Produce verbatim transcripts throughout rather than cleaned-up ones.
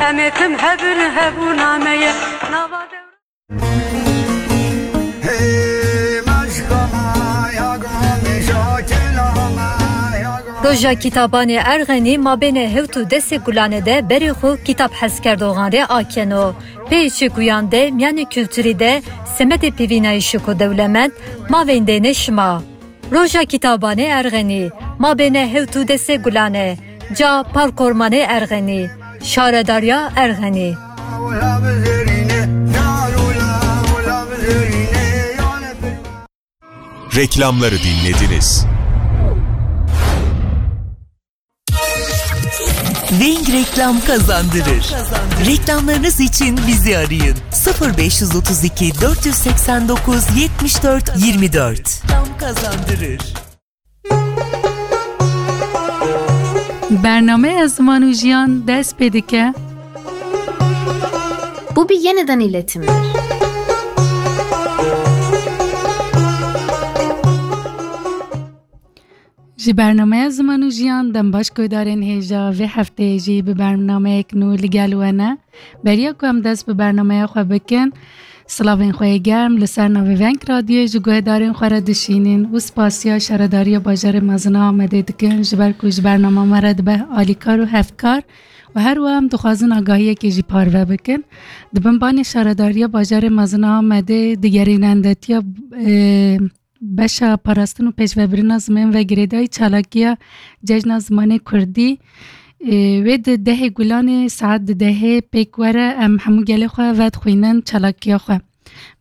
Em ê tim hebin hebûna me ye. Nava dewra. Roja Kitabanê Erxenî mabênê hewt û desê Gulane de berê xwe kitab hezkerdoxan rê akeno. Pê çekuyan de miyanê kulturî de semedê pêvînayîşiko dewlemend ma veyndêne şima. Roja Kitabanê Erxenî, mabêne hewt û desê Gulane, ca Parkormanê Erxenî, Şaredariya Erxenî. Reklamları dinlediniz. Wing Reklam kazandırır. Reklamlarınız için bizi arayın. sıfır beş yüz otuz iki dört yüz seksen dokuz yetmiş dört yirmi dört. Reklam kazandırır. Bernameya Ziman û Jiyan dest pê dike. Bu bir yeniden iletimdir. Ji bernameya Ziman û Jiyan dem baş guhdarên hêja vê hefteyê jî bi bernameyek nû li gel we ne. Beriya ku em dest bi bernameya xwe bikin, silavên xwe yê germ li ser navê Veng Radyoyê ji guhdarên xwe re dişînin û spasiya Şaredariya Bajarê Mezin a Amedê dikin, ji ber ku ji bernama me re dibe alîkar û hevkar û her wiha em dixwazin agahiyekê jî parve bikin. Di bin banê Şaredariya Bajarê Mezin a Amedê digerînendetiya, e, Beşa parastin û pêşvebirina zimên ve girêdayî çalakiya Cejna Zimanê Kurdî, e, wê di dehê Gulanê saet di dehê pêk were, em hemû gelê xwe vedixwînin çalakiya xwe.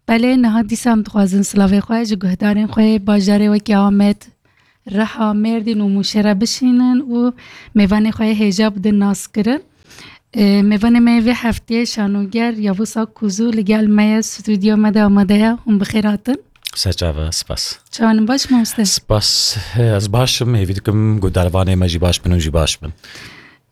Belê niha dîsa em dixwazin silavê xwe ji guhdarên xwe yê bajarê wekî Amed, Riha, Mêrdîn û Mûşê re bişînin û mêvanê xwe yê hêja bidin naskirin. E, mêvanê me yê vê hefteyê şanoger Yavuz Akkuzu li gel me ye, stûdyoya me de amade ye. Hûn bi xêr hatin. Serçava, spas. Çawan in, baş, mamoste? Spas, ez baş im, hêvî dikim guhdarvanê me jî baş bin û jî baş bin.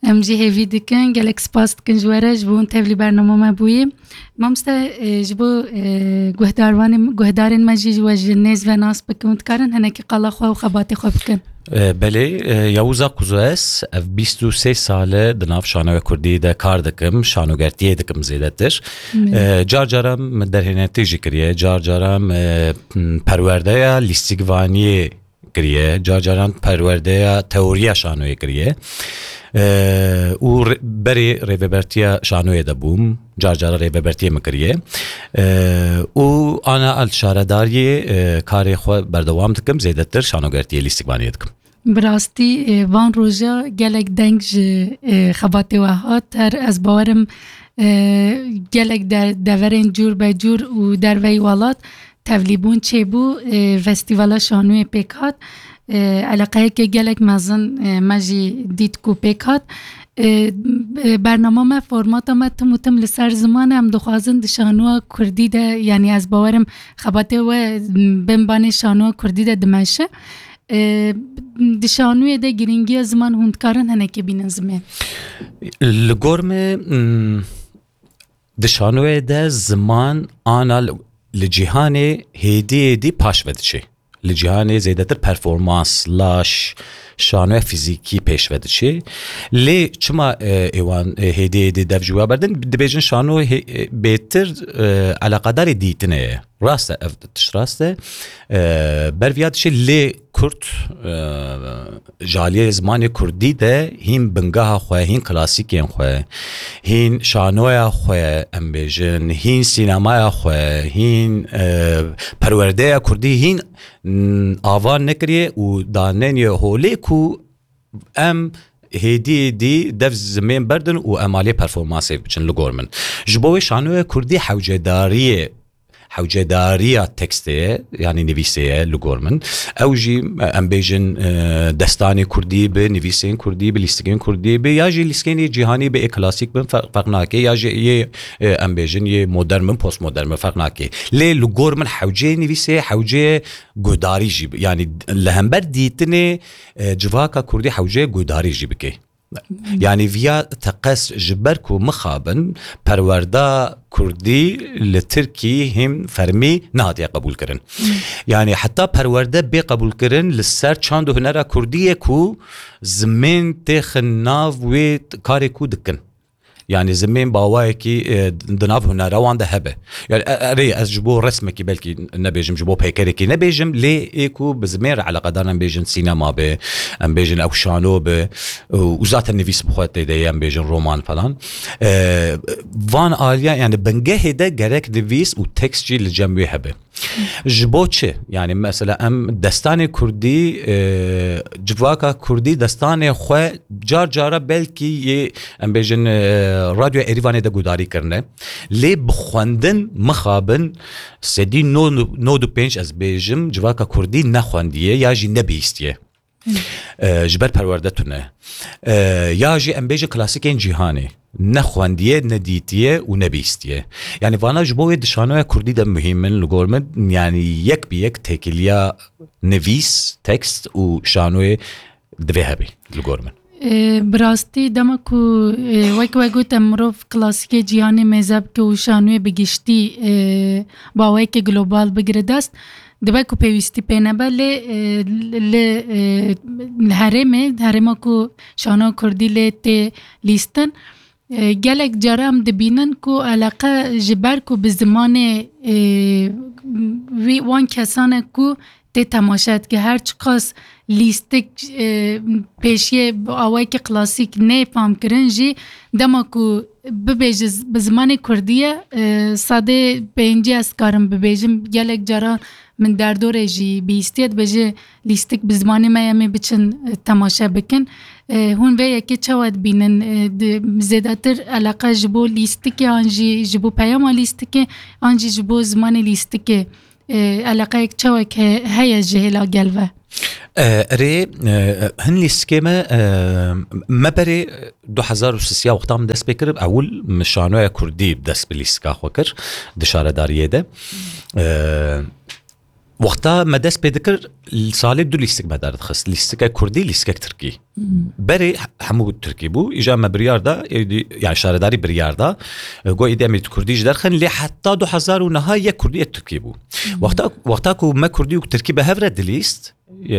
Em jî hêvî dikin, gelek spas dikin ji we re, ji bo hûn tevlî bernama me bûyî. Mamoste, e, ji bo, e, guhdarvanê, guhdarên me jî ji we ji nêz ve nas bikin û dikarin hinekî qala xwe û xebatê xwe bikin. E, belê, e, Yavuz Akkuzu ez, ev bîst û sê sal e di nav şanoya kurdî de kar dikim, şanogertiyê dikim zêdetir. Belê. E, car caran min derhênertî jî kiriye, car caran, e, m, perwerdeya lîstikvaniyê kiriye, car caran perwerdeya teoriya şanoyê kiriye. E, û re-, berê rêvebertiya şanoyê de bûm, car cara rêvebertiyê min kiriye. E, û ana el şaredariyê, e, karê xwe berdewam dikim, zêdetir şanogertiyê lîstikvaniyê dikim. Bi rastî, e, van roja gelek deng ji, e, xebatê we hat. Her ez bawerim, e, gelek de-, deverên cûr be cûr û derveyî welat tevlîbûn çêbû, e, festîvala şanoyê pêk hat. E, eleqeyeke gelek mezin, e, me jî dît ku pêk hat. E, e, bernama me, formata me tim û tim li ser ziman e. Em dixwazin di şanoya kurdî de, yanî ez bawerim xebatê we bin banê şanoya kurdî de dimeşe. E, di şanoyê de girîngiya ziman hûn dikarin hinekê bînin zimên? Li gor me, mm, di şanoyê de ziman ana li, li cîhanê hêdî hêdî paş ve diçe. Li cîhanê zêdetir performans, laş, şanoya fîzîkî pêş ve diçe. Lê çima, e, êwan, e, hêdî hêdî dev ji we berdin? Dibêjin şano hê-, e, bêtir, e, eleqedarê dîtinê ye. Rast e, ev tişt rast e. E, ber viya dişê lê Kurd, e, ji aliyê zimanê Kurdî de hîn bingeha xwe, hîn klasîkên xwe, hîn şanoya xwe, em bêjin, hîn sînemaya xwe, hîn, e, perwerdeya Kurdî hîn, n-, ava nekiriye û daneniye holê ku em hêdî hêdî dev zimên berdin û em aliyê performansê biçin li gor min. Ji bo wê şanoya Kurdî hewcedariyê hewcedariya tekstê ye, yanî nivîsê ye li gor min. Ew jî, em bêjin, e, destanê kurdî bi, nivîsên kurdî bi, lîstikên kurdî bi, ya jî lîstikên cîhanî bi, ê klasîk bin, fer-, ferq nake, ya jî yê, e, em bêjin, yê modern bin, postmodern bin, ferq nake. Lê li gor min hewceyê nivîsê, hewceyê guhdarî jî bi. Yanî li hember dîtinê, e, civaka kurdî hewceyê guhdarî jî bike. Yanî viya teqez ji ber ku mixabin perwerda kurdî li Tirkî hîn fermî nehatiye qebûlkirin. Yanî heta perwerde bê qebûlkirin li ser çand û hunera kurdî ye ku zimên têxin nav wê karê ku dikin. Yani zimên bi awayekî, e, di nav hunera wan de hebe. Yani, e, erê, ez ji bo resmekî belkî nebêjim, ji bo peykerekî nebêjim, lê ê ku bi zimên re eleqedar in, em bêjin sînema be, em bêjin ew şano be, û, û zaten nivîs bi xwe tê de ye, em bêjin roman falan. E, van aliya, yani bingehê de gerek nivîs û tekst jî li cem wê hebe. Ji bo çi? Yani mesela em destanê kurdî, e, civaka kurdî destanê xwe car cara belkî yê, em bêjin, e, Radyo Erîvanê de gudarî kirine. Lê bi xwendin mixabin sedî nod û pênc, ez bêjim, civaka kurdî nexwendiye ya jî nebihîstiye. E, ji ber perwerde tune. E, ya jî em bêjin klasîkên cîhanê. Nexwendiye, nedîtiye û nebihîstiye. Yani vana ji bo wê di şanoya kurdî de muhîm in li gor min. Yani yek bi yek têkiliya nivîs, tekst û şanoyê divê hebe li gor min. E, bi rastî dema ku, e, wek we got, em mirov klasîkê cîhanê mêze bike û şanoyê bi giştî, e, bi awayekî global bigire dest, dibe ku pêwîstî pê nebe, lê, e, li, e, li herêmê, herêma ku şano kurdî lê tê lîstin, e, gelek cara em dibînin ku eleqe ji ber ku bi zimanê, e, wî wan kesan e ku tê temaşe dike. Her çiqas lîstik, e, pêşiyê bi awayekî klasîk nê fam kirin jî, dema ku bibêje z-, bi zimanê kurdî ye, e, sedê pêncî ez karim bibêjim, gelek cara min derdorê jî bihîstiye, dibêje lîstik bi zimanê me ye, em ê biçin, e, temaşe bikin. E, hûn vê yekê çawa dibînin? E, di, zêdetir eleqe ji bo lîstikê an jî ji bo peyama lîstikê an jî ji bo zimanê lîstikê, e, eleqeyek çawek he-, heye ji hêla gel ve? E, erê, e, hin lîstikê me, e, me berê du hezar û sisiya wexta min dest pê kir, ewil min şanoya kurdî dest bi lîstika xwe kir di şaredariyê de. E, wexta me dest pê dikir, salê du lîstik me derdixist. Lîstikek kurdî, lîstikek tirkî. Berê he-, hemû tirkî bû. Îja me biryar da, êdî, yani şaredarî biryar da. E, got, êdî em ê kurdî jî derxin, lê heta du hezar û neha yek kurdî, yek tirkî bû. Wexta, wexta ku me kurdî û tirkî bi hev re dilîst, e,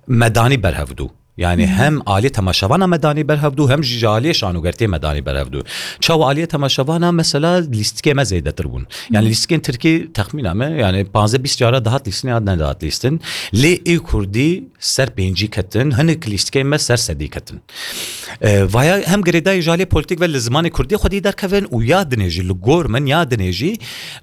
medanî berhev dû. Yani hem aliyê temaşevana medanî berhev dû, hem jî ji aliyê şanogertiyê medanî berhev dû. Çawa aliyê temaşevana mesela lîstikê me zêdetir bûn. Yani lîstikên tirkî texmîna me, yani panzdeh bîst cara dihat lîstin ya nedihat lîstin. Lê ê kurdî ser pêncî ketin, hinek lîstikên me ser sedî ketin. E, vaya hem girêdayî ji aliyê polîtîk ve li zimanê kurdî xwedî derkevin û ya dinê jî li gor min, ya dinê jî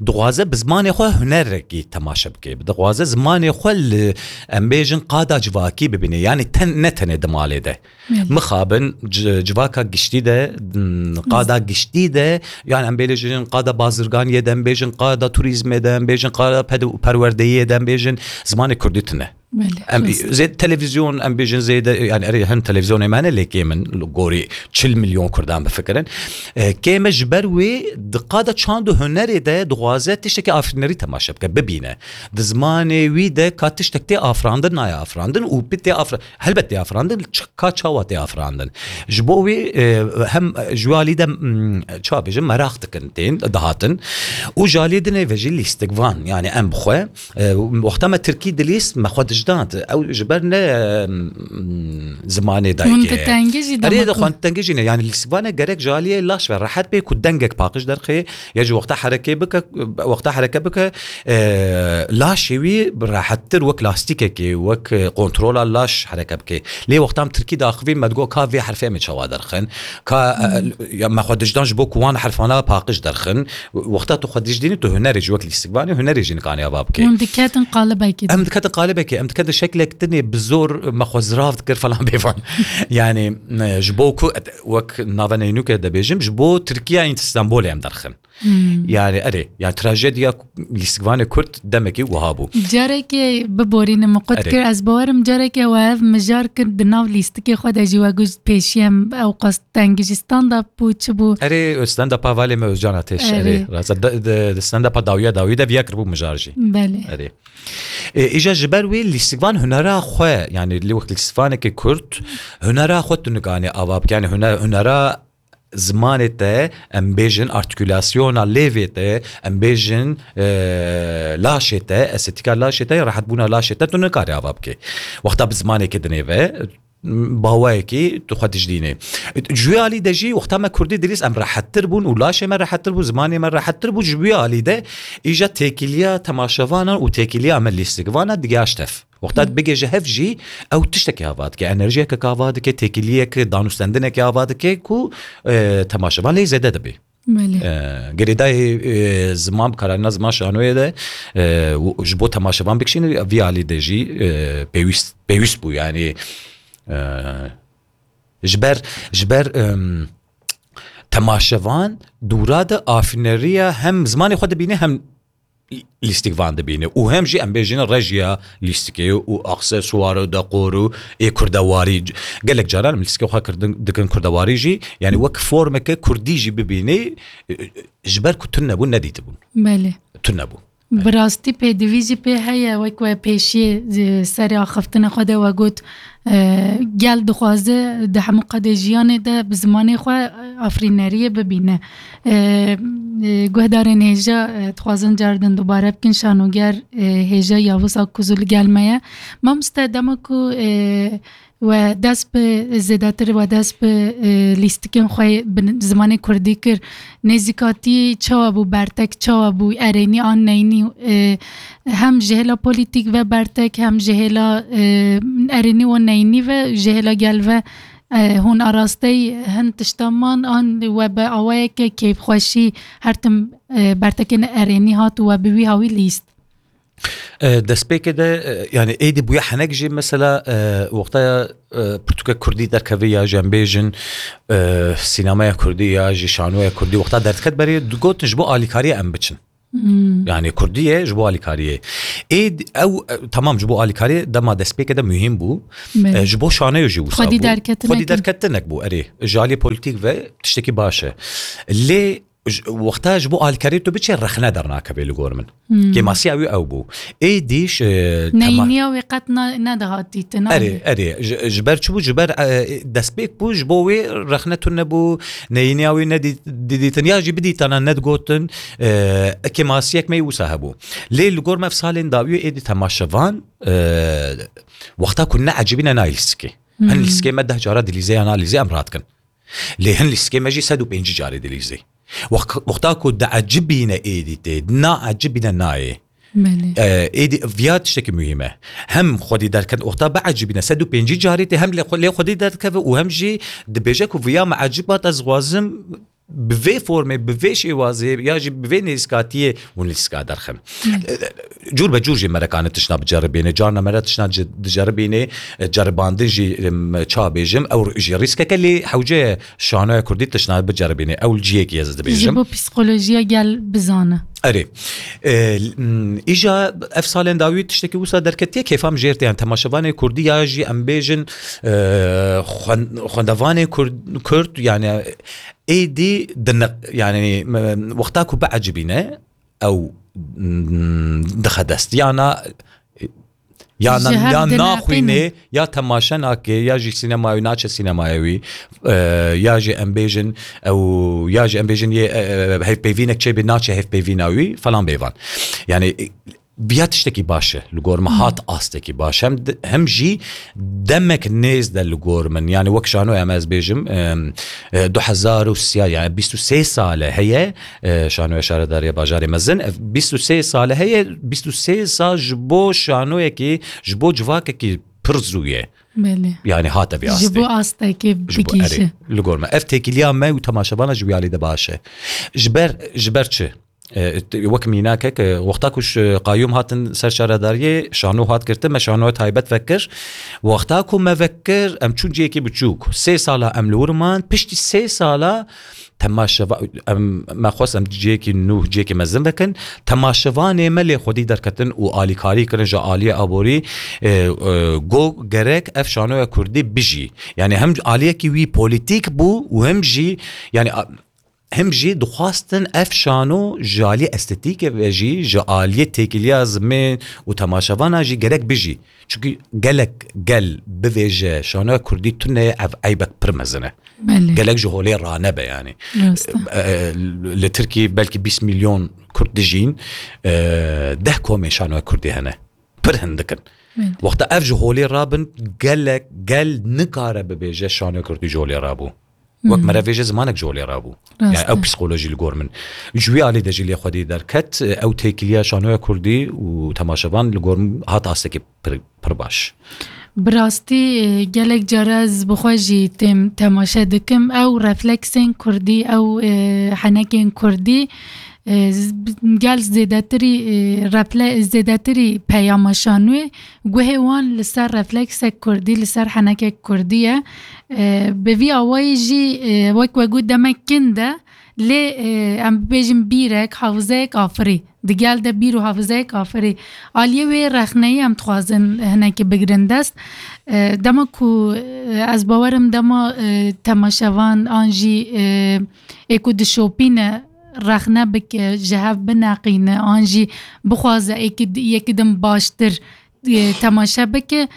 dixwaze bi zimanê xwe hunerekî temaşe bike. Dixwaze zimanê xwe li, em bêjin, qada civakî bibîne. Yani ten, ne tenê di malê de. Belê. Mixabin ci-, civaka giştî de, m, qada giştî de, yani em bêjin qada bazirganiyê de, em bêjin qada turîzmê de, em bêjin qada ped-, perwerdeyiyê de, em bêjin zimanê kurdî tune. Belê, em rast. Zê televîzyon, em bêjin zêde, yani erê hin televîzyonê me ne, lê kêm in, gorî çil milyon kurdan bifikirin. E, kêm e ji ber wê di qada çand û hunerê de dixwaze tiştekî afirînerî temaşe bike, bibîne. Di zimanê wî de ka tiştek tê afirandin, nayê afirandin û bi tê afir-, helbet tê afirandin, ç-, ka çawa tê afirandin. Ji bo wê, e, hem ji wê alî de, mm, çawa bêjim, meraq dikin tên, dihatin. Û ji alî dinê ve jî lîstikvan, yani em bi xwe, e, wexta me tirkî dilîst, me xwe dijdand. Ew ji ber ne, e, mm, zimanê dayikê. Hûn di tengê jî Erê, dema de ku xwenditengê jî ne. Yani lîstikvane gerek ji aliyê laş ve rehet bê ku dengek paqij derxê, ya jî wexta herekê bike, wexta hereke bike, e, laşê wî rehettir wek lastîkekê, wek, e, kontrola laş hereke bike. Lê wexta em tirkî daxivîn, me digot ka vê herfê em ê çawa derxin? Ka, e, ya me xwe dijdan ji bo ku wan herfana paqij derxin? Wexta tu xwe dijdînî, tu hunerê jî wek lîstikvanê, hunerê jî nikanî ava bike. Hûn diketin qalibekê de. Em diketin qalibekê, em diketin şeklek dinê bi zor me xwe zirav dikir falan bêvan. Yani, e, ji bo ku, wek nava neynûke de bêjim, ji bo Tirkiya ên Stenbolê em derxin. Hmm. Yani erê, yani trajediya lîstikvanê Kurd demekî wiha bû. Carekê biborîne min qut Erê. kir, ez bawerim carekê we ev mijar kir di nav lîstikê xwe de jî we got pêşî em ew qas tengî jî stand-up bû, çi bû? Erê, stand-upa Valê me Özcan Ateş, Erê. erê. Rast, de, de, de stand-upa dawiya dawî de viya kiribû mijar jî. Belê. Erê. E, îja ji ber wê lîstikvan hunera xwe, yani lê wek lîstikvanekê Kurd, hunera xwe tu nikanî ava bike, yani huner-, hunera zimanê te, em bêjin, artikulasyona lêvê te, em bêjin, e, laşê te, estetîka laşê te, rehetbûna laşê te, tu nikarî ava bikê. Wexta bi zimanekê dinê ve, bawayekî tu xwe dijdînê. Ji wî alî de jî wexta me kurdî dilîst, em rehettir bûn û laşê me rehettir bû, zimanê me rehettir bû. Ji wî alî de îja têkiliya temaşevanan û têkiliya me lîstikvana digihaşt hev. Wexta bigêje hev jî ew tiştekî ava dike, enerjiyeke ava dike, têkiliyeke, danûstendineke ava dike ku, e, temaşevan lê zêde dibe. Belê. E, girêdayî, e, ziman, kararîna ziman şanoyê de, e, û ji bo temaşevan bikişîne, vî alî de jî, e, pêwîst, pêwîst bû. Yanî, e, ji ber, ji ber, em, temaşevan dûra de afîneriya hem zimanê xwe dibîne hem lîstikvan dibîne û hem jî em bêjin rejiya lîstikê û aksesuar û dekor û ê kurdewarî. Gelek caran em lîstikê xwe kirdin, dikin kurdewarî jî, yanî wek formeke kurdî jî bibînî, e, ji ber ku tune bû, nedîtibûn. Belê. Tune bû. Bi rastî pêdivî jî pê heye, wek we pêşiyê, e, serê axiftina xwe de we got, e, gel dixwaze di hemû qadê jiyanê de bi zimanê xwe afirîneriyê bibîne. E, e, guhdarên hêja, e, dixwazin cardin dubare bikin, şanoger, e, hêja Yavuz Akkuzu li gel me ye. Mamoste, dema ku, e, we dest bi zêdetir, we dest bi, e, lîstikên xwe bi zimanê kurdî kir, nêzîkatî çawa bû, bertek çawa bû, erênî an neynî, e, hem ji hêla polîtîk ve bertek, hem ji hêla, e, erênî û neynî ve, ji hêla gel ve, e, hûn arasteyî hin tişta man an we bi awayeke kêfxweşî her tim, e, bertekên erênî hat û we bi wî hawî lîst? E, destpêkê de, e, yanî êdî bûye henek jî mesela, e, wexta, e, pirtûke kurdî derkeve ya jî em bêjin, e, sînemaya kurdî ya jî şanoya kurdî wexta derdiket berê digotin ji bo alîkariyê em biçin. Hmm. Yanî kurdî ye ji bo alîkariyê. Êdî ew, e, temam ji bo alîkariyê dema destpêkê de muhîm bû. Belê. E, ji bo şanoyê jî wisa bû. Xwedî derketinek. Xwedî derketinek bû, erê. Ji alî polîtîk ve tiştekî baş e. Lê ji, wexta ji bo alîkariyê tu biçe rexne dernakeve li gor min. Hmm. Kêmasiya wî ew bû. Êdî ji, e, tema- Neyniya wê qet na-, nedihat dîtin, Erê, anî? Erê. Ji, ji ber çi bû? Ji ber, e, destpêk bû, ji bo wê rexne tune bû, neyniya wî nedî-, didîtin, ya jî bidîtana nedigotin, e, kêmasiyek me yê wisa hebû. Lê li gor me ev salên dawî êdî temaşevan, e, wexta ku neecibîne nayê lîstikê. Hmm. Hin lîstikê me deh cara dilîze ya nalîze em radikin. Lê hin lîstikê me jî sed û pêncî carê dilîzê. Wex-, wexta ku diecibîne êdî tê, naecibîne nayê. Belê. E, êdî viya tiştekî muhîm e. Hem xwedî derket, wexta biecibîne sed û pêncî carê tê, hem lê xwe-, lê xwedî derkeve û hem jî dibêje ku viya me ecibat, ez dixwazim bi vê formê, bi vê şêwazê ya jî bi vê nêzîkatiyê hûn lîstika derxin. Belê. E, cûr be cûr jî merekane tişna biceribîne. Carna mere tişna ci-, diceribîne, e, ceribandin jî, em, ça bêjim, ew jî rîskeke lê hewce ye şanoya kurdî tişna biceribîne. Ew li cihekî ez dibêjim. Ji bo psîkolojiya gel bizane. Erê. E, m, îja ev salên dawî tiştekî wisa derketiye, kêfa min jêr tê. Yani temaşevanê kurdî ya jî em bêjin, e, xwen-, xwendevanê kurd, kurd, yani êdî dine-, yani, me-, wexta ku biecibîne, ew, mm, dixe dest. Ya na, ya Ji na-, hev ya dinepîne. Naxwîne, ya temaşe nake, ya jî sînemayê wî naçe sînemayê wî, e, ya jî em bêjin, ew, ya jî em bêjin yê, e, e, hevpeyvînek çêbê naçe hevpeyvîna wî, falan bêvan. Yani, e, viya tiştekî baş e, li gor min hat astekî baş. Hem di-, hem jî demek nêz de li gor min. Yani, wek şanoya me ez bêjim, em, e, du hezar û sê, yani bîst û sê sale heye, e, şanoya Şaredariya Bajarê Mezin. Ev bîst û sê sale heye, bîst û sê sal ji bo şanoyekî, ji bo civakekî pir zû ye. Belê. Yani hate vê astê. Ji bo astekê Ji bo, bigihîşe. Erê, li gor me. Ev têkiliya me û temaşevana ji wî alî de baş e. Ji ber, ji ber çi? E, t-, wek mînakek, e, wexta ku ji qayûm hatin ser şaredariyê, şano hat girtin, me şanoya taybet vekir. Wexta ku me vekir, em çûn cihekî biçûk. Sê sala em li wir man, piştî sê sala temaşeva-, em, me xwest em cihekî nû, cihekî mezin vekin. Temaşevanê me lê xwedî derketin û alîkarî kirin ji aliyê aborî, e, e, got gerek ev şanoya kurdî bijî. Yani hem aliyekî wî polîtîk bû û hem jî, yani, a-, hem jî dixwastin ev şano ji aliyê estetîkê ve jî, ji aliyê têkiliya zimên û temaşevana jî gerek bijî. Çunkî gelek gel bivêje şanoya kurdî tune ye, ev eybek pir mezin e. Belê. Gelek ji holê ranebe yani. Rast e. E, e, li Tirkî belkî bîst milyon kurd dijîn, e, deh komên şanoya kurdî hene. Pir hindik in. Wexta ev ji holê rabin, gelek gel nikare bibêje şanoya kurdî ji holê rabû. Wek mere vêje zimanek ji holê rabû. Yani ew psikolojî li gor min. Ji wî alî de jî lê xwedî derket, ew têkiliya şanoya kurdî û temaşevan li gor min hat astekî pir, pir baş. Bi rastî, e, gelek cara ez bi xwe jî têm temaşe dikim. Ew refleksên kurdî, ew, e, henekên kurdî, e, z-, gel zêdetirî, e, refle-, zêdetirî peyama şanoyê guhê wan li ser refleksek kurdî, li ser henekek kurdî ye. E, bi vî awayî jî, e, wek we got demek kin de, lê, e, em bibêjin bîrek, hafizeyek afirî. Di gel de bîr û hafizeyek afirî. Aliyê wê rexneyî em dixwazin hinekî bigirin dest. E, dema ku, e, ez bawerim dema, e, temaşevan an jî, e, ê ku dişopîne rexne bike, ji hev bineqîne, an jî bixwaze êkî di-, yekî din baştir, e, temaşe bike.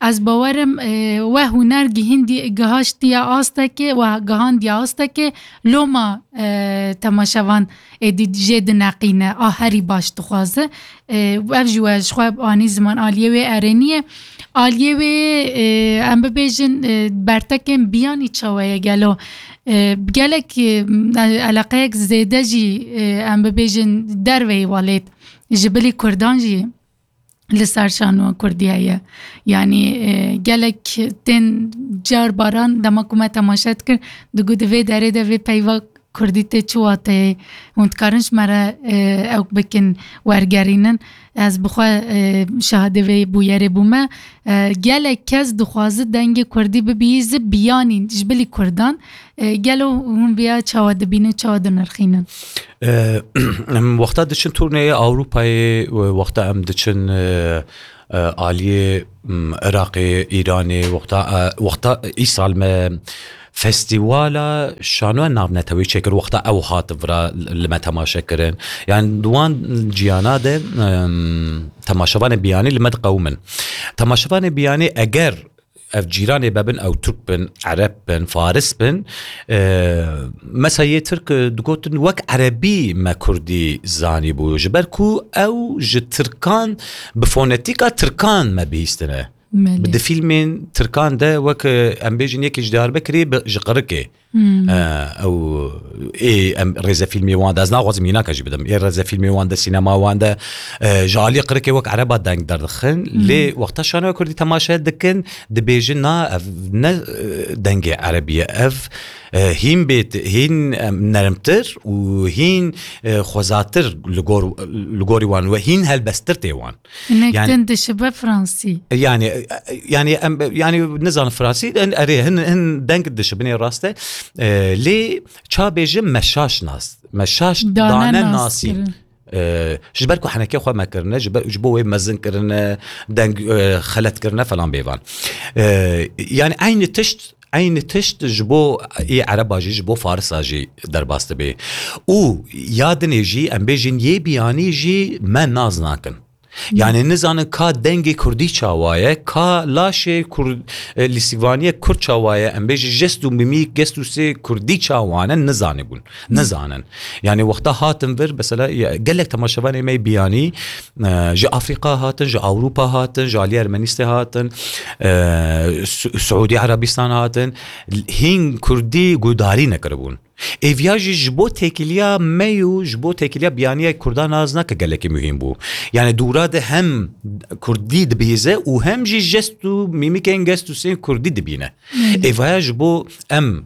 Ez bawerim, e, we huner gihîndî-, gihaştiye astekê, we gihandiye astekê, loma, e, temaşevan êdî jê dineqîne, a herî baş dixwaze. E, ev jî we ji xwe anî ziman aliyê wê erênî ye. Aliyê wê, e, em bibêjin, e, bertekên biyanî çawa ye gelo? E, gelek, e, eleqeyek zêde jî, e, em bibêjin derveyî welêt ji bilî kurdan jî li ser şanoya kurdî heye. Yanî, e, gelek tên car baran dema ku me temaşe dikir, digot di vê derê de vê peyva kurdî tê çi wateyê? Hûn dikarin ji me re, e, ew bikin wergerînin. Ez bi xwe, e, şahidê vê bûyerê bûme. E, gelek kes dixwaze dengê kurdî bibî zi biyanî ji bilî kurdan. E, gelo hûn viya çawa dibînin, çawa dinirxînin? E, em wexta diçin turneyê Ewropayê, wexta em diçin, e, e, aliyê, m, Iraqê, Îranê, wexta, e, wexta îsal me festîvala şanoya navnetewî çêkir, wexta ew hat vira li me temaşe kirin. Yani di wan ciyana de, em, temaşevanê biyanî li me diqewimin. Temaşevanê biyanî eger ev cîranê bebin, ew Tirk bin, Ereb bin, Faris bin, e, mesela yê Tirk, e, digotin, wek Erebî me Kurdî zanîbû, ji ber ku ew ji Tirkan, bi fonetîka Tirkan me bihîstine. Belê. Bi di fîlmên Tirkan de wek, e, em bêjin yekî ji Diyarbekirê bi, ji Qirikê. Hmm. E, ew, ê, em rêzefîlmê wan de, ez naxwazim mînaka jî bidim. Ê rêzefîlmê wan de, sînema wan de, e, ji alî Qirikê wek Ereba deng derdixin. Hmm. Lê wexta şanoya Kurdî temaşe dikin, dibêjin, na, ev ne, e, dengê Erebî ye. Ev, e, hîn bêt-, hîn, em, nermtir û hîn, e, xwezatir li gor, li gorî wan we hîn helbesttir tê wan. Hinek Yani din dişibe Fransî. Yani, e, yani, em, yani, nizanim Fransî, en, erê, hin, hin deng dişibinê rast e. E, lê ça bêjim me şaş nas. Me şaş Dane dane nas nasî. Kirin. E, ji ber ku henekê xwe me kirine, ji ber, ji bo wê mezin kirine, deng, e, xelet kirine falan bêvan. E, yani eynî tişt, eynî tişt ji bo ê Ereba jî, ji bo Farisa jî derbas dibe. Û ya dinê jî, em bêjin yê biyanî jî me naz nakin. Yani nizanin ka dengê Kurdî çawa ye, ka laşê Kur-, e, lîsîvaniyê Kurd çawa ye, em bêjî jest û mimîk, gest û sê Kurdî çawa ne, nizanîbûn. Nizanin. Yani wexta hatin vir, mesela, ya, gelek temaşevanê me biyanî, e, ji Afrîka hatin, ji Ewropa hatin, ji alî Ermenîstê hatin, e, Su-, Suûdî Erebîstan hatin, hîn Kurdî guhdarî nekiribûn. Êviya jî ji bo têkiliya me û ji bo têkiliya biyaniya Kurdan naz nake gelekî muhîm bû. Yani dûra de hem Kurdî dibihîze û hem jî jest û mîmikên gest û sên Kurdî dibîne. Hmm. Êvaya ji bo em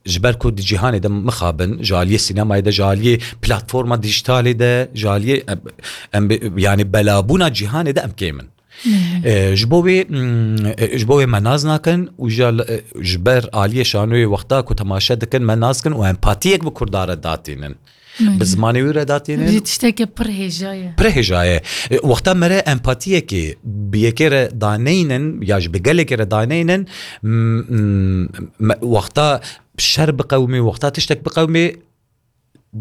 ji ber ku di cîhanê de mixabin, ji aliyê sînemayê de, ji aliyê platforma dîjîtalê de, ji aliyê em, em, yani belabûna cîhanê de em kêm in. Hı hı. E, ji bo wê, mm, e, ji bo wê me naz nakin û ji, e, ji ber aliyê şanoyê wexta ku temaşe dikin me naz kin û empatiyek bi Kurda re datînin. Belê. Bi zimanê wî re datînin. Jî tiştekî pir hêja ye. Pir hêja ye. E, wexta me re empatiyekê bi yekê re daneynin ya ji bi gelekê re daneynin, m-, m-, me, wexta şer biqewimê, wexta tiştek biqewimê,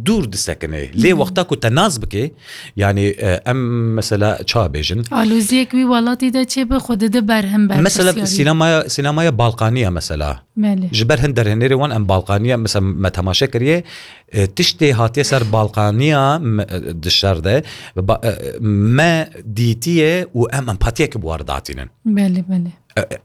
dûr disekine. Lê wexta ku te nas bike, yanî, e, em mesela ça bêjin? Aloziyek wî welatî de çêbe xwe dide berhim ber. Mesela sînemaya, sînemaya Balkaniya mesela. Belê. Ji ber hin derhênerê wan em Balkaniya, mesela me temaşe kiriye, e, tiştê hatiye ser Balkaniya me, e, di şer de, ba, e, me dîtiye û em empatiyeke bi wan re datînin. Belê, belê. E, e,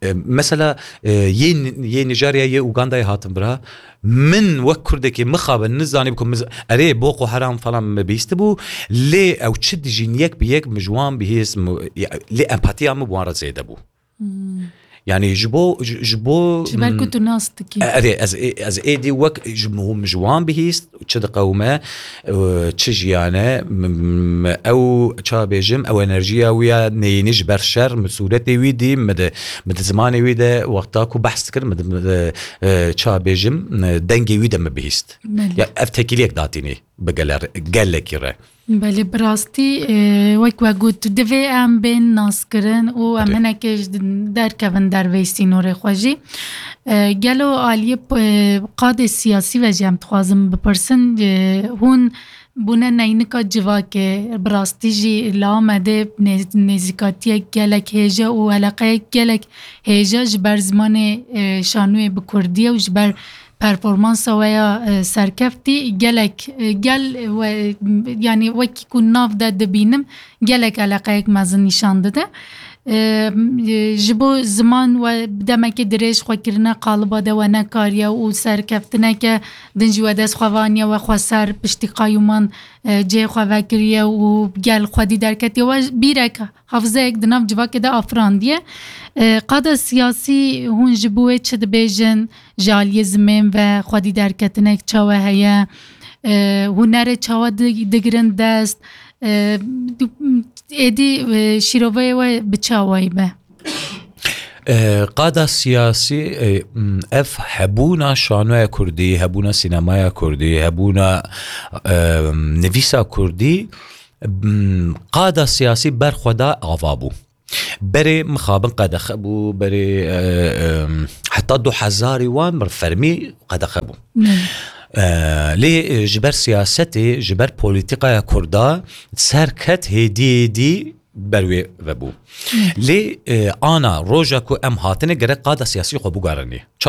e, mesela, e, yê, yê Nîjerya, yê Ugandayê hatin bira, min wek Kurdekê mixabin, nizanî bikim, miz-, erê, Boko Haram falan me bihîstibû, lê ew çi dijîn yek bi yek min ji wan bihîst, mi-, ya, lê empatiya min bi wan re zêde bû. Hmm. Yanî ji bo, ji, ji bo, Ji ber ku mm, tu nas dikî. E, erê, ez, ez êdî wek ji, ji wan bihîst, çi diqewime, e, çi jiyan e, m-, m-, ew, ça bêjim, ew enerjiya wî ya neyînî ji ber şer, min sûretê wî dî, min di, min di zimanê wî de wexta ku behs dikir, min di, min di, e, ça bêjim, e, dengê wî de min bihîst. Belê. Ya, ev tekîliyek datînî bi geler-, gelekî re. Belê, bi rastî, e, wek we got, divê em bên naskirin û em Erê. hinekê ji derkevin derveyî sînorê xwe jî. E, gelo aliyê p-, e, qadê siyasî ve jî em dixwazin bipirsin, e, hûn bûne neynika civakê, bi rastî jî li Amedê nê-, nêzîkatiyek gelek hêje û eleqeyek gelek hêje ji ber zimanê, e, şanûyê bi kurdî ye û ji ber performansa we ya, e, serkeftî gelek, e, gel we, yanî wekî ku nav de dibînim, gelek eleqeyek mezin nîşan dide. E, e, ji bo ziman we demekê dirêj xwe kirine qaliba de we nekariye û serkeftineke din jî we dest xwe vaniye, we xwe ser piştî qayûman, e, cihê xwe vekiriye û gel xwedî derketiye. We bîrek hafizeyek di nav civakê de afirandiye. E, qada siyasî hûn ji bo wê çi dibêjin? Ji aliyê zimên ve xwedî derketinek çawe heye? E, hunerê çawa di-, digirin dest? E, du-, êdî, e, şîroveyê we bi çi awayî be? E, qada siyasî, e, m, ev hebûna şanoya kurdî, hebûna sînemaya kurdî, hebûna, e, nivîsa kurdî, m, qada siyasî ber xwe da ava bû. Berê mixabin qedexe bû, berê, e, e, heta du hezarî wan bir fermî qedexe bû. Belê. E, lê, e, ji ber siyasetê, ji ber polîtîkaya kurda ser ket hêdî hêdî ber wê vebû. Belê. Lê, e, ana roja ku em hatine gerek qada siyasî xwe bigarinê.